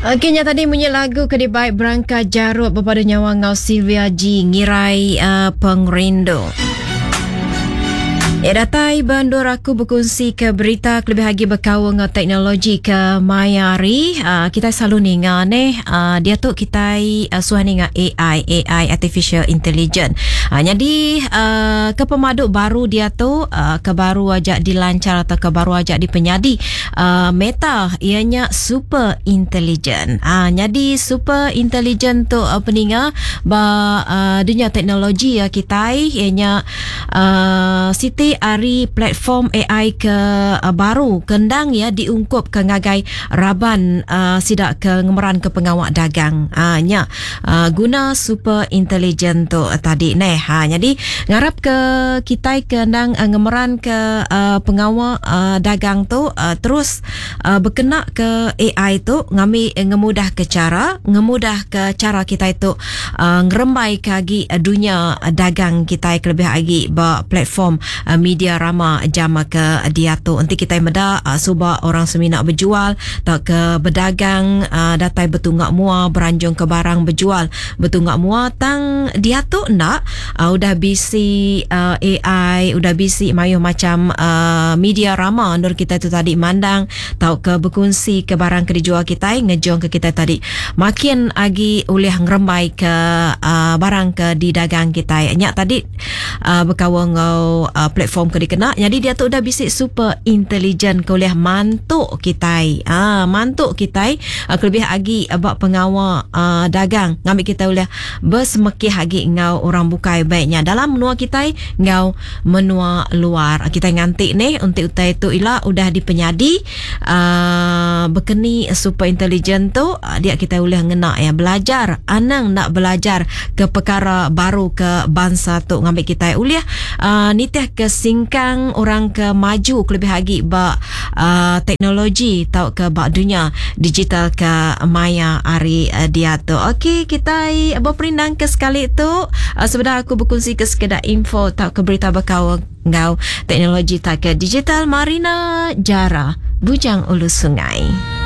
Okey nya tadi munyi lagu ke dibai Berangka Jarut bepadu nyawa enggau Sylvia G ngirai uh, pengerindu. Ya datai ba endur aku bekunsi ke berita kelebih agi bekaul enggau teknologi ke maya hari. Uh, kita selalu ninga neh uh, dia tu kitai uh, suah ninga AI, AI artificial intelligence. Uh, jadi uh, ke pemadu baru dia tu uh, ke baru aja dilancar atau ke baru aja dipenyadi uh, Meta iya nya super intelligent. Ah nyadi super intelligent tu uh, peninga ba uh, dunya teknologi uh, kitai iya nya uh, siti ari platform AI ke uh, baru ke endang iya diungkup ke ngagai raban uh, sida ke ngemeran ke pengawa dagang. Ah nya uh, guna super intelligent tu tadi neh. Ha nyadi ngarap ke kitai ke endang uh, ngemeran ke uh, pengawa uh, dagang tu uh, terus uh, bekena ke AI tu ngambi ngemudah ke cara, ngemudah ke cara kitai tu uh, ngerembai ke agi dunya dagang kitai kelebih agi ba platform uh, media rama jam ke diatu. Enti kitai meda uh, suba orang semina bejual tauka bedagang uh, datai betunga mua beranjung ke barang bejual betunga mua tang diatu enda uh, udah bisi uh, AI udah bisi mayuh macam uh, media rama endur kitai tu tadi mandang tauka bekunsi ke barang ke dijual kitai ngejung ke kitai tadi makin agi ulih ngerembai ke uh, barang ke didagang kitai nya tadi uh, bekaul enggau uh, platform ke dikena. Jadi dia tu udah bisi super intelligent ke ulih mantu kitai. Ah, mantu kitai uh, kelebih agi ba pengawa uh, dagang ngambi kitai ulih besemekih agi enggau orang bukai baik nya dalam menua kitai enggau menua luar. Kitai nganti nih enti utai tu ila udah dipenyadi uh, bekeni super intelligent tu uh, dia kitai ulih ngena ya belajar anang enda belajar ke perkara baru ke bansa tu ngambi kitai ulih uh, nitih ke singkang orang ke maju kelebih agi ba uh, teknologi tauka ba dunya digital ke maya hari uh, diatu. Okey, kitai beperindang ke sekali tu uh, sebedau aku bekunsi ke sekeda info tauka berita bekaul enggau teknologi tauka digital Marina Jara Bujang Ulu Sungai.